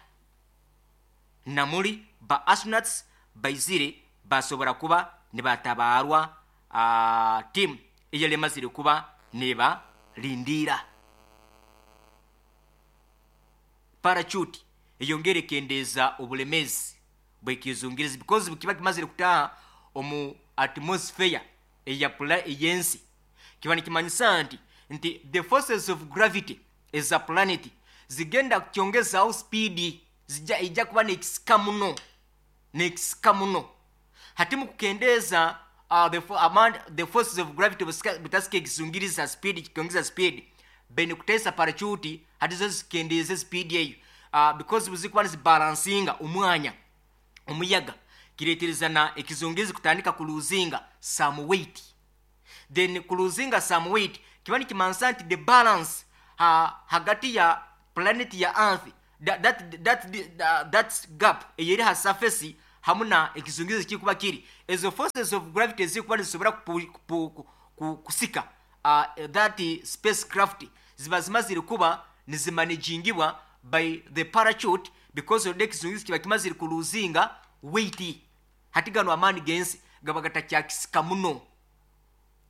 Namuli ba astronauts baizire basobora kuba nibatabarwa uh, team eyalemazire kuba neba lindira. Parachute eyongere kendeza obulemezi bwekizungirizi because bukiba kimazire kutaha omu atmosphere eya pula eyensi kiba nikimanyisa nti nti the forces of gravity as a planet zigenda kukyongeza speed zija ija kuba nekisika muno nekisika muno. Hati mu kukendeza uh, the, amount, the forces of gravity butasika ekizungiriza speed kikyongeza speed bene kutesa parachute hati zo zikendeze speed eyo, uh, because buzikuba nizibalansinga omwanya omuyaga kiretereza na ekizungirizi kutandika kuluzinga some weight. Then kuluzinga some weight kiba nikimansa nti the balance ha, hagati ya planet ya earth, that, that, that, that, that gap eyeri ha surface hamu na ekizungizi kikuba kiri, ezo forces of gravity zikuba nizisobora kupu, kupu, ku, kusika uh, that spacecraft ziba zimazire kuba nizimanagingibwa by the parachute, because of ekizungizi kiba kimazire kuluzinga weight. Hati gano amaani gensi gaba gatakyakisika muno,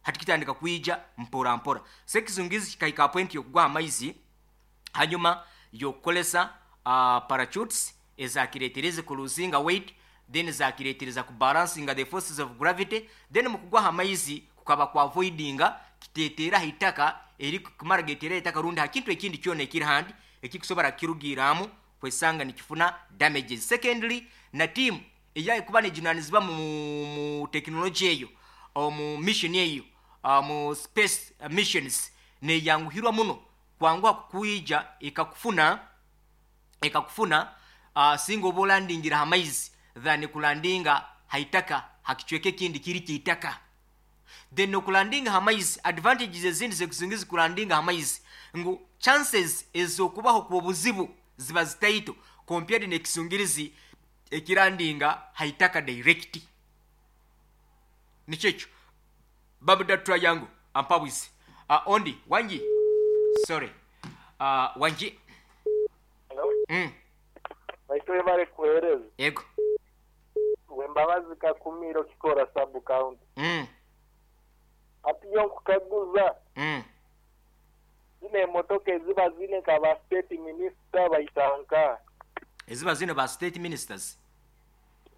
hati kitandika kwija mpora mpora. So ekizungizi kikahika point yokugwa amaizi hanyuma yokukolesa uh, parachutes ezakiretereze kuluzinga weight, then zakiretereza kubalancinga the forces of gravity. Then mukugwa amaizi kukaba kwa avoidinga kitetera hitaka eri kumara getera itaka rundi hakintu ekindi kyona ekiri handi ekikusobora kirugiramu kwesanga nikifuna damages. Secondly, na team eyayi kuba nejunanizibwa mu, mu tekinologi eyo, mu mission eyo, uh, mu space uh, missions, neyanguhirwa muno kwanguha kukwija ekakufuna ekakufuna uh, singa oba olandingira hamaizi than kulandinga haitaka hakichweka ekindi kiri kiitaka. Then okulandinga hamaizi, advantages ezindi zekuzingizi kulandinga hamaizi ngu chances ezokubaho kwa obuzibu ziba zitaito compared nekisungirizi ekirandinga haitaka direct. Nikyekyo Babuda Triangle ampabwisi. Uh, ondi wangi, sorry, uh, wangi. Hello? Mm. Baitwe bare kuhereza. Yego. Wembabazi Kakumiro Kikora sub county. Mm. Ati yo kukaguza. Mm. Zine emotoka eziba zine ka ba state minister baitanka. Eziba zine ba state ministers.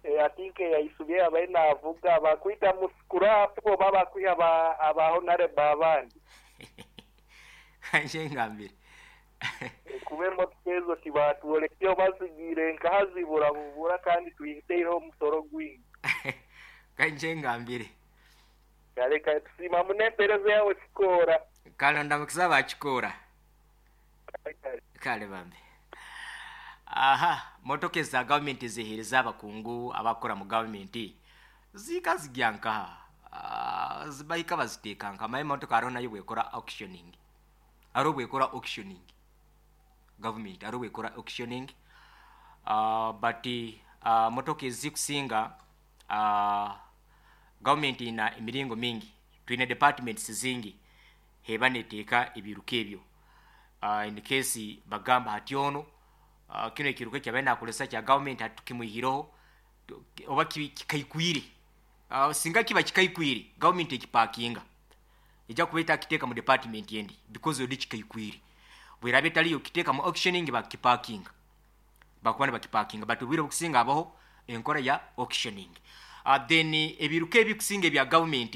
E, atinke yaisubye abaina avuga bakwita muskura bo baba kwiha ba aba honorable abandi. Nje ngambire. E, kube motoka ezo tibatwolekyo bazigire nkahazibura bubura kandi tuyiteho omusoro gwingi. Kanje ngambire. Kale kale tusima munempereza yawe Kikora. Kale ndamukisa bakikora. Kale bambe. Aha, motoka za government zihereza abakungu abakora mu government zika zigyanka uh, zibayika baziteeka nka maye motoka ariho nayo bwekora auctioning, ariho bwekora auctioning government ariho bwekora auctioning, uh, but uh, motoka ezikusinga uh, government ina emiringo mingi, twine departments zingi heba neteeka ebiruka ebyo. Uh, in case bagamba hati ono Uh, kino ekiruka kyabaye nakolesa kya government hatukimwihireho oba kikaikwire. Uh, singa kiba kikaikwire government ekipakinga ejja kuba etakiteeka mu department endi because odi kikaikwire. Bwerabe etaliyo kiteeka mu auctioning bakipakinga, bakuba nibakipakinga, but obwire obukusinga abaho enkora ya auctioning. Uh, then ebiruka ebikusinga ebya government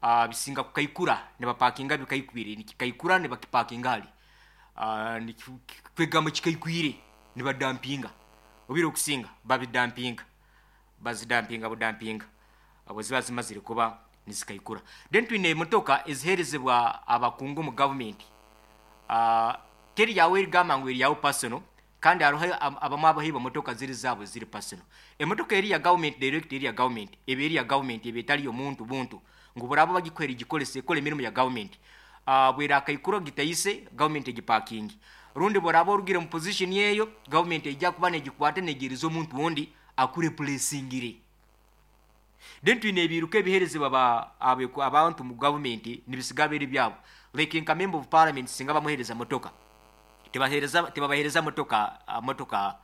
uh, bisinga kukaikura nibapakinga bikaikwire, nikikaikura nibakipakinga hali uh, kwegamba kikaikwire nibadampinga obiro okusinga babidampinga bazidampinga budampinga abo ziba zimazire kuba nizikaikura. Then twine emotoka eziherezebwa abakungu mu government, uh, teri yawe erigamba ngu eri yawe personal, kandi hariho abamu abahiba motoka ziri zaabo ziri personal. Emotoka eri ya government direct eri ya government eba eri ya government eba etali omuntu buntu ngu buraba bagikwera egikolesa ekola emirimu ya government. Uh, bwera akaikura gitayise government egipakingi, rundi boraba orugire mu position yeyo government ejja kuba negikwata negiriza omuntu wundi akureplacingire. Then twine ebiruka ebiherezebwa ba abantu mu government nibisiga biri byabo, like nka member of parliament singa bamuhereza motoka tebahereza tebabahereza motoka uh, motoka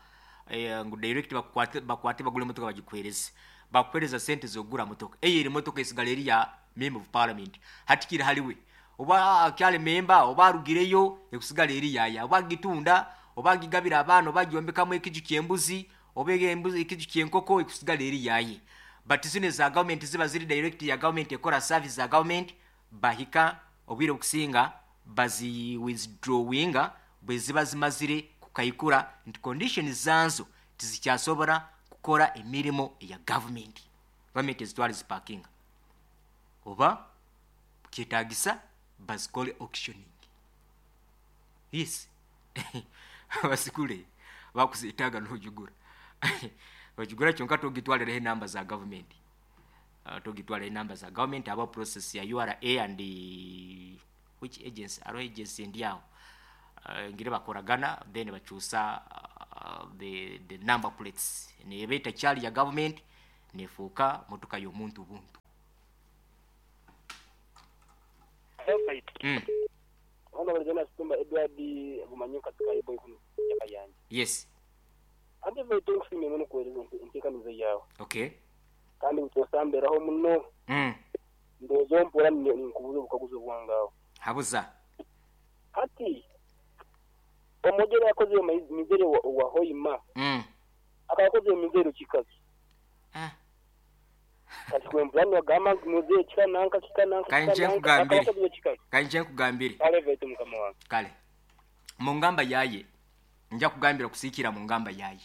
eh, ngu direct bakwate bakwate bagule motoka bagikwereze bakuhereza sente zogura motoka eyo eri motoka esigala eri ya member of parliament hatikiri haliwe oba akyali memba oba arugireyo ekusigala eri yaya oba gitunda oba gigabira abaana oba gyombekamu ekiju ky'embuzi oba embuzi ekiju ky'enkoko ekusigala eri yaye. But zino za government ziba ziri direct ya government ekora service za government bahika obwire okusinga bazi withdrawinga bwe ziba zimazire kukaikura nti conditions zanzo tizikyasobora kukora emirimu ya government. Government ezitwala zipakinga oba kyetagisa bazikole auctioning. Yes. Basikule bakuzitaga n'ojugura ojugura kyonka togitwalira enamba za government. Uh, togitwalira enamba za government aba process ya U R A and the, which agency aro agency ndi awo uh, ngire bakoragana then bakyusa uh, the, the number plates neba etakyali ya government nefuuka motoka y'omuntu buntu. Mm. Yes. Okay. Kandi utosamberaho muno. Mm. Ndozo mpora nkubuzo bukaguzo bwangaho. Habuza. Hati omugere yakoze mizere wa, wa Hoima. Mm. Akakoze mizere kikazi. Ah. Kati kwemplano agamba muzere kika nanka kika nanka. Kanje nkugambire. Kanje nkugambire. Kale vetu mukama wange. Kale. Mungamba yaye. Nja kugambira kusikira mungamba yaye.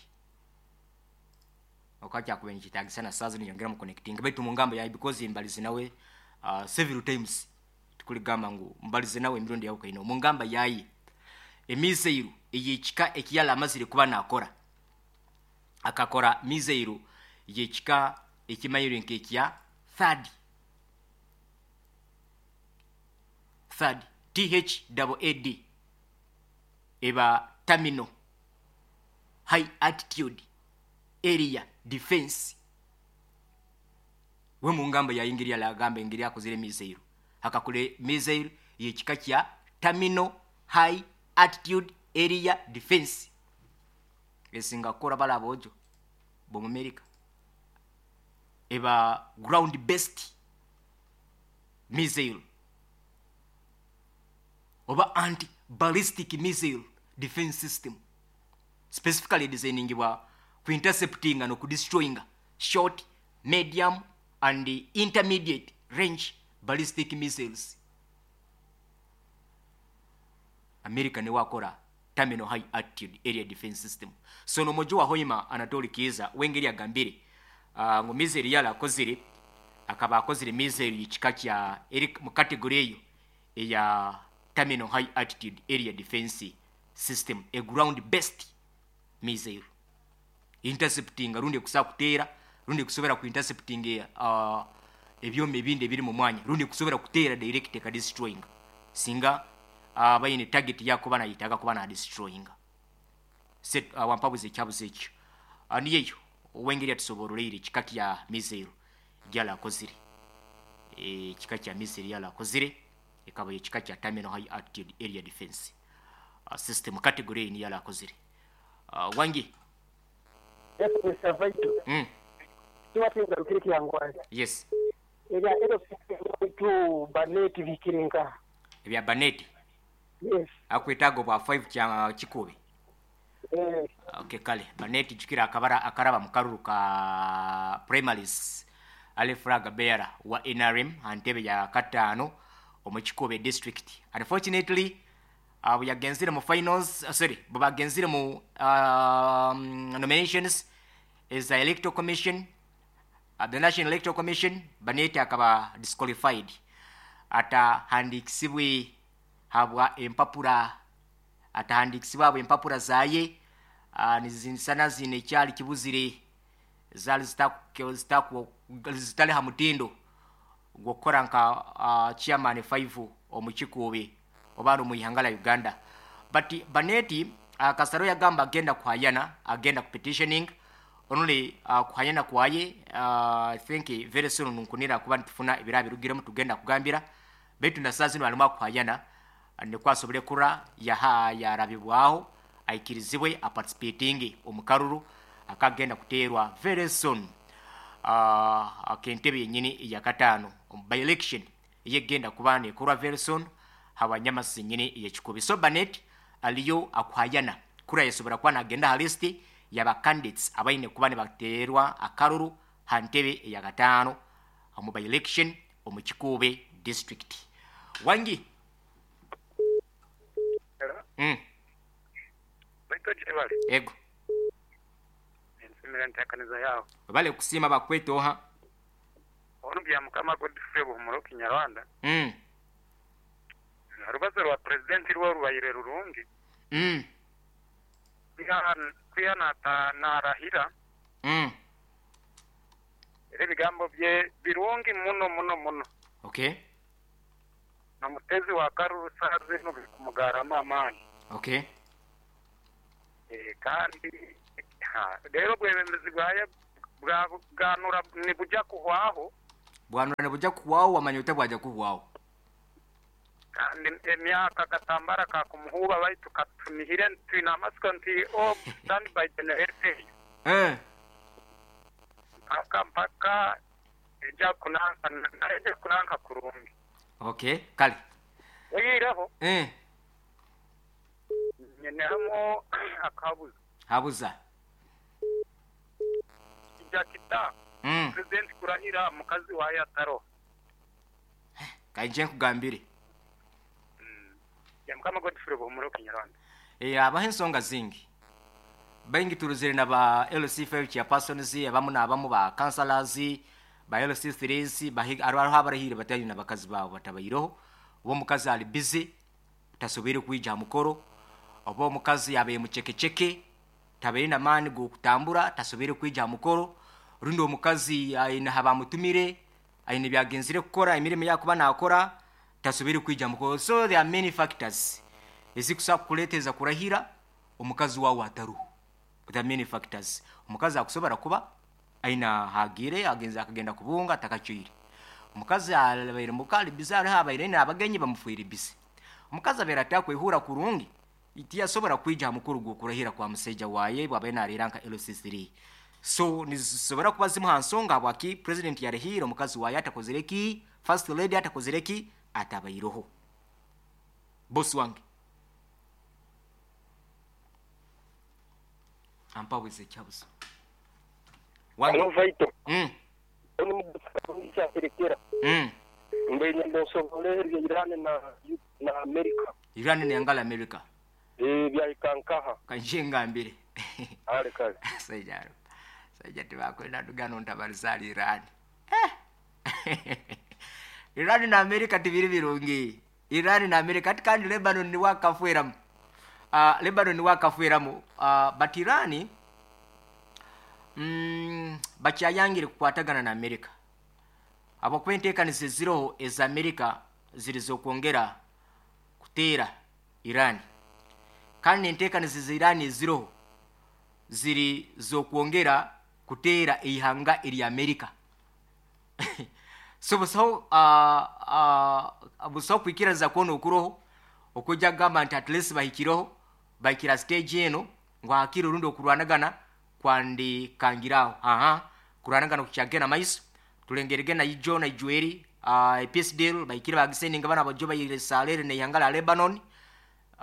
Wakati akubenjitagisa na sazi niyongera mu connecting baitu mungamba yaye because mbalize nawe uh, several times tukuligamba ngu mbalize nawe emirundi yawe kaino mungamba yaye emizeiru eyekika ekiyala amazire kuba nakora akakora mizeiru yekika ekimayiro nkekya third third T H A A D eba terminal high altitude area defense. We mungamba ya ingiri ya lagamba ingiri akozire mizeiru akakule mizeiru yekika kya terminal high altitude area defense esinga kora bala bojo bo mu America eba ground based missile oba anti ballistic missile defense system specifically designing wa ku intercepting and ku destroying short, medium and intermediate range ballistic missiles. America ne wakora terminal high altitude area defense system. So no mojo wa Hoima Anatoli Kiza wengeri agambire uh, ngo mizeri yala akozire akaba akozire mizeri ekika kya eri mu category eyo eya terminal high altitude area defense system, a ground based missile intercepting rundi kusa kutera rundi kusobera ku intercepting uh, ebyome ebindi ebiri mu mwanya rundi kusobera kutera direct ka destroying singa uh, bayine target yako bana yitaga kuba na destroying set uh, wampabuze kyabuze ekyo uh, niyeyo wengeri atusoborolere kika kya missile gyala akozire e kika kya missile yala akozire ekaba ekika kya terminal high altitude area defense uh, system category ni yala akozire uh, wangi. Yes, Mister Vaito. Mm. Yes. Ega ero tu baneti bikirenga. Ebya baneti. Yes. Akwetago bwa five kya kikube. Eh. Okay, kale baneti jukira akabara akaraba mukaruru ka primaries ale flag bearer wa N R M antebe ya katano omu Kikube district. Unfortunately uh, we agenzire mu finals uh, sorry babagenzire mu um, nominations is the electoral commission uh, the National Electoral Commission baneti akaba disqualified ata handikisibwe habwa empapura atahandikisibwa habwa empapura zaye uh, nizinsana zine kyali kibuzire zali zitaku zitaku zitali ha mutindo gwokora nka uh, chairman five omu Kikube oba mu ihanga Uganda. But baneti uh, Kasaro yagamba agenda kuhayana agenda ku petitioning only uh, kuhayana kwaye uh, I think very soon nkunira kuba ntufuna ebirabirugiremu tugenda kugambira betu na sasa zino alimu kuhayana ne kwasobole kura yaha yarabibwaho aikirizibwe a participating omukaruru akagenda kuterwa very soon uh, akentebe yenyini ya katano by election yegenda kubane kurwa very soon habanyamasi nyini ya Kikubi. So Banet aliyo akuhayana kura yesobora kwa nagenda halisti yaba candidates abaine kubane baterwa akaruru hantebe ya katano mu by election omu Kikube district. Wangi. Hello. Mm. Baito jebali. Ego. Nsimira ntakaniza yao. Bale kusima bakweto ha. Ono bya mukama Godfrey Buhumuro Kinyarwanda. Mm. Rubazo rwa president rwa rubayire rurungi. Mm. Kwiha nata narahira. Mm. Ere bigambo bye birungi muno muno muno. Okay. Na mutezi wa karuru saze no kumugarama amani. Okay. Eh, kandi ha, rero obwebembezi bwaye bwa bwanura nibujya kuhwaho. Bwanura nibujya kuhwaho, wamanya ota bwajya kuhwaho. Kandi emyaka akatambara kakumuhuba baitu katunihire twine amasiko nti o stand by generator Eh. mpaka mpaka ejja kunanka ejja kunanka kurungi. Okay, kale. Oyireho Eh. nyenehamo akabuzo. Habuza. Kijja kita Mm. president kurahira mukazi waye ataro. Kaije nkugambire. Ya mukama Godfrey Buhumuro Kinyarwanda. Eh, abaho ensonga zingi. Baingi turuzire na ba L C five chairpersons, abamu n'abamu ba councillors, ba L C threes, bahi hariho abarahire batari na bakazi babo batabayireho. Oba omukazi ali busy tasobere kwija ha mukoro, oba omukazi yabaye mucekeceke tabaire n'amaani g'okutambura tasobere kwija ha mukoro, rundi omukazi aine habamutumire aine byagenzire kukora emirimo yakuba nakora tasobere kwija ha mukoro. So there are many factors ezikusa kukuleeteza kurahira omukazi wawe ataruho. There are many factors. Omukazi akusobora kuba aina hagire agenza akagenda kubunga atakacwire. Omukazi abaire mukali bizarre abaire aine abagenyi bamufuire bisi. Omukazi abaire atakwehura kurungi tiyasobora kwija ha mukuru gw'okurahira kwa museija waye bwabaire narira nka L C three. So nizisobora kuba zimu ha nsonga habwaki president yarahire omukazi waye atakozire ki, first lady atakozire ki, atabairoho. Boss wange ampabuze ekyabuzo. Wange. Hello, Vaito. Mm. Oni mubusa Mm. Mbe ndosobole erya Iran na na America. Iran ne ngala America. Eh bya ikankaha. Kanje ngambire. Ale kale. Sajaro. Sajja tibakwenda dugano ntabalizali Iran. Eh. Iran na America tibiri birungi. Iran na America ati kandi Lebanon ni wakafueramu. Uh, Lebanon ni wakafueramu. Uh, but Iran mm, bakyayangire kukwatagana na America. Abakuba enteekanizo eziroho eza America ziri z'okwongera kuteera Iran. Kandi enteekanizo za Iran eziroho ziri z'okwongera kuteera eihanga erya America. So busaho uh, uh, busaho kwikiriza kwona okuroho okujja kugamba nti at least bahikireho bahikira stage eno ngu hakiri orundi okurwanagana kwandikangiraho. Aha, kurwanagana kukyagenda maiso tulengerege na ijo na ijueri uh, peace deal bahikire bagiseninga bana abajo bayire Israel neihanga lya Lebanon.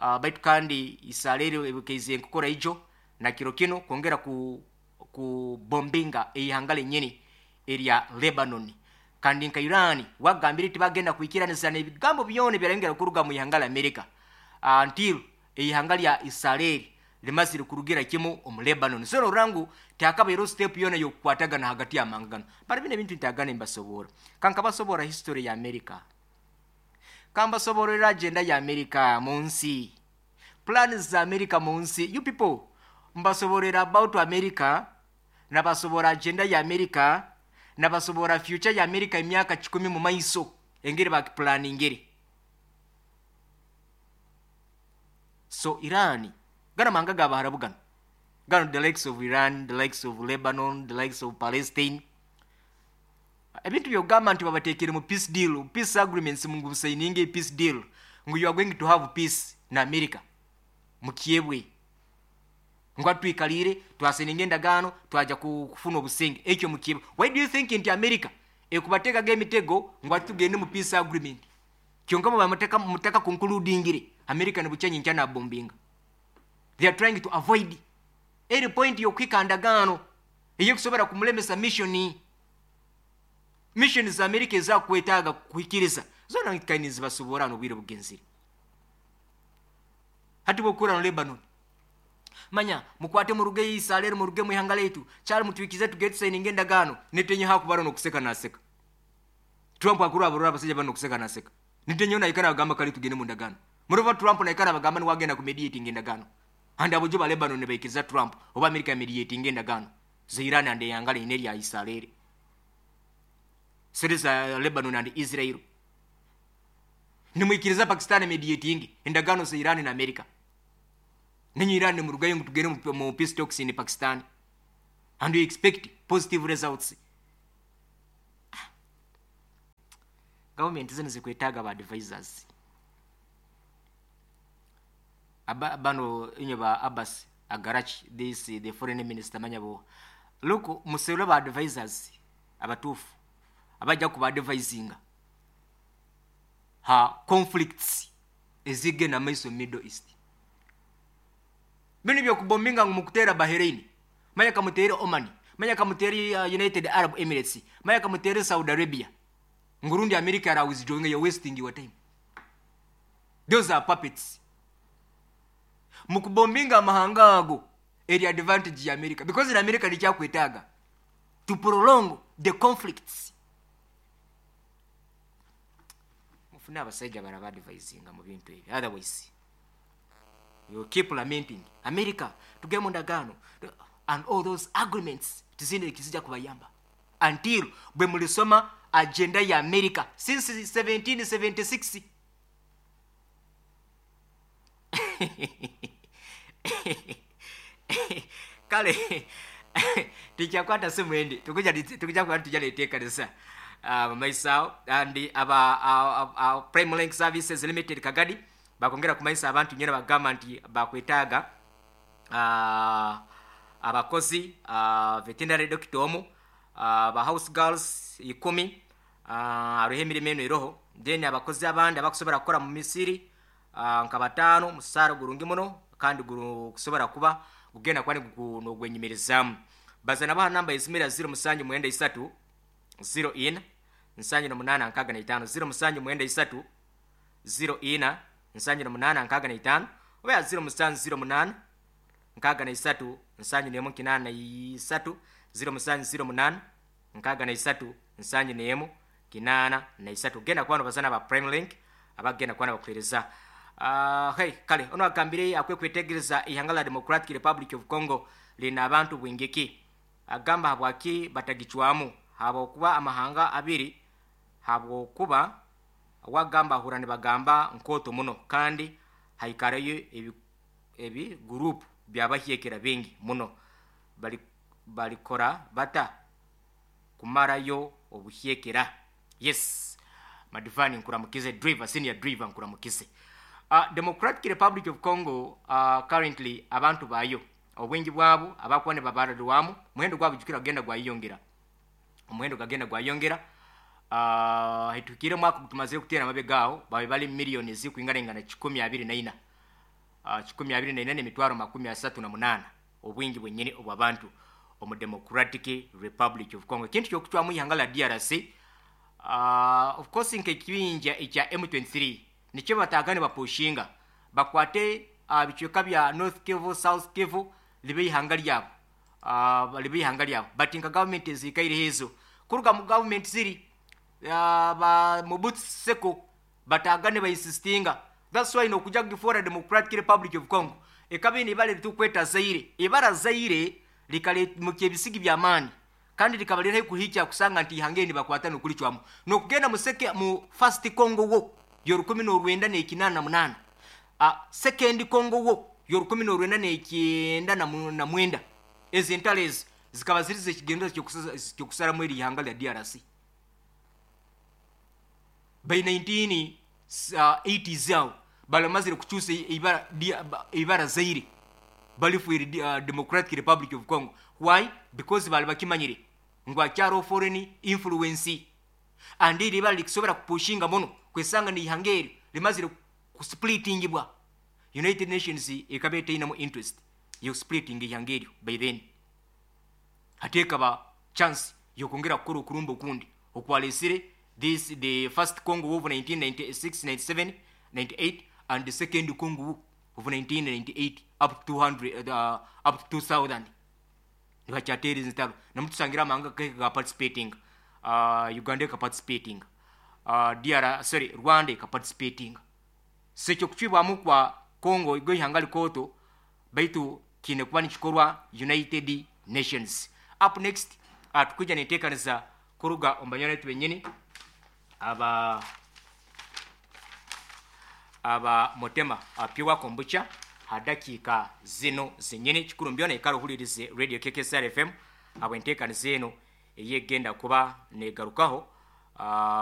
Uh, baitu kandi Israel ebukeize nkukora ijo na kiro kino kwongera ku ku bombinga eihanga lenyini erya Lebanon. Kandi nka Iran wagambire tibagenda kwikiraniza n'ebigambo byona byarengera kuruga mu ihanga la America uh, until eihanga lya Israel limazire kurugira kimu omu Lebanon. So norangu takabairo step yona yokukwatagana hagati ya mangano. Bari bine bintu ntagana mbasobora. Kanka basobora history ya America. Kamba soborera agenda ya America munsi. Plans za America munsi. You people mbasoborera about America, nabasobora agenda ya America, nabasobora future ya America emyaka kikumi mu maiso engeri bakiplaningire. So Iran gana manga gabaharabu gano. Gano the likes of Iran, the likes of Lebanon, the likes of Palestine. Ebintu byogamba nti babatekere mu peace deal, peace agreements mungu busayininge peace deal. Ngu you are going to have peace na America. Mukyebwe. Ngu atwikalire, twaseninge endagaano, twaja kufuna obusenge. Ekyo mukyebwe. Why do you think nti America ekubateekaga emitego ngu atugende mu peace agreement? Kyonka muba muteka muteka concludingire. America ne bucyanyi nkyana bombinga. They are trying to avoid any point yokwika ndagaano eyekusobora kumulemesa mission. Mission za America ezakwetaaga kuhikiriza zona kaini zibasobora n'obwire bugenzire. Hati bokura no Lebanon. Manya mukwate muruge Israel muruge mu ihanga letu kyali mutwikize tuget signing endagaano netenye hakubara no kuseka naseka. Trump akuru abarora abasajja bano kuseka naseka. Netenye na ikana agamba kali tugende mu ndagaano. Murova Trump na ikana bagamba ni wagenda ku mediating endagaano. And abojo ba Lebanon ne baikiriza Trump oba America mediating endagaano. Za Iran and yangala ineri ya Israel. Siriza Lebanon and Israel. Nimwikiriza Pakistan mediating endagaano za Iran na America. Ninyi Iran murugayo ngu tugende mu- mu peace talks in Pakistan and you expect positive results. Government zino zikwetaaga ba advisors. Aba, bano inyo ba Abbas Agarachi, this the foreign minister, manyabo look, muserwe ba advisors abatuufu abajja kuba advisinga ha conflicts ezigenda maiso Middle East. Bino byokubombinga ngu mukuteera Bahrain, manya kamuteere Oman, manya kamuteere uh, United Arab Emirates, manya kamuteere Saudi Arabia, ngurundi America ara withdrawing, you're wasting your time. Those are puppets. Mukubombinga amahanga ago eri advantage ya America, because in America nikyakwetaaga to prolong the conflicts. Mufune abasajja baraba advisinga mu bintu ebyo, otherwise you keep lamenting America tugende mu ndagaano and all those agreements tizindi kizija kubayamba until bwe mulisoma agenda ya America since seventeen seventy-six. Kale tikyakwata simu endi tukuja tukuja kuba tujja neteekanisa mumaiso and aba uh, uh, Prime Link Services Limited Kagadi bakongera kumaisa abantu nyera bagamba nti bakwetaaga uh, abakozi uh, veterinary doctor omu, uh, ba house girls ikumi, uh, aruho emirimo eno eroho, then abakozi abandi abakusobola kukora mu misiri uh, nka bataano, musaara gurungi muno kandi gukusobola kuba gugenda kuba nogwenyumirizaamu. Bazana baha namba ezimira zero musanju mwenda isatu zero ina nsanju na munana nkaga na itano, zero musanju mwenda isatu zero ina nsanju na munana nkaga na itano, oba zero musanju zero munana nkaga na isatu nsanju nemu kinana na isatu, zero musanju zero munana nkaga na isatu nsanju nemu kinana na isatu. Genda kwano bazana ba Prime Link abagenda kwana bakuhereza. Uh, hey, kale ono agambire akwe kwetegereza ihanga la Democratic Republic of Congo lina abantu bwingiki. Agamba habwaki batagichwamu habwokuba amahanga abiri, habwokuba wagamba ahura nibagamba nkoto muno kandi haikarayo ebi, ebi group byabahyekera bingi muno bali balikora bata kumarayo obuhyekera. Yes, Madivani nkuramukize, driver, senior driver nkuramukize. Uh, Democratic Republic of Congo uh, currently abantu bayo obwingi bwabo abakuba ne babarirwamu muhendo gwabo jukira genda gwayongera omuhendo gagenda gwayongera. uh, hitukire mwaka gutumazire kutera amabegaawo babe bali miliyoni zikuingana kikumi abiri na ina, uh, kikumi abiri na ina n'emitwaro makumi asatu na munana obwingi bwenyini obw'abantu omu Democratic Republic of Congo. Ekintu ky'okucwamu ihanga la D R C, uh, of course nk'ekibinja ekya M twenty-three nikyo batagane bapushinga bakwate uh, bicweka bya North Kivu, South Kivu libe ihanga lyabo, uh, libe ihanga lyabo, but nka government ezikaire hezo kuruga mu government ziri uh, ba Mobutu Seko batagane ba insistinga. That's why nokuja gifora Democratic Republic of Congo ekabini ibale litukweta Zaire, ibara Zaire likale mu bisigi bya mani kandi likabalira kuhicha kusanga nti ihangeni bakwata nokulicwamu nokugenda museke mu first Congo wo yorukumi n'orwenda n'ekinana na munana, uh, second Congo wo yorukumi n'orwenda n'ekyenda na mwenda. Ezi entalo ezi zikaba ziri zekigendo kyokusaramu eri ihanga lya D R C by nineteen eighties awo balamazire kukyusa ibara, ibara Zaire balifuire uh, Democratic Republic of Congo. Why? Because bali bakimanyire ngu akyaro foreign influence and iri ibara likisobora kupushinga muno kwesanga ni ihangeri limazire kusplittingibwa. United Nations ekaba etainamu interest yo splitting ihangeri by then hateka ba chance yokongera kukora okurumba okundi okwalesire this the first Congo War of nineteen ninety-six, ninety-seven, ninety-eight and the second Congo War of nineteen ninety-eight up to two hundred, uh, up to two thousand nibachateri zitalo namutusangira amahanga ka participating, uh, Uganda ka participating, uh, D R sorry Rwanda ka participating. Sekyo kuchibwamu kwa Congo igo ihanga likoto baitu kine kuba nikikorwa United Nations. Up next uh, tukuja neteekaniza kuruga ombanyana benyini aba aba Motema uh, Pure Kombucha Ha dakiika zino zenyini kikuru mbyona ikara ohulirize Radio K K S R F M habwenteekaniza eno eyegenda kuba negarukaho. Ah,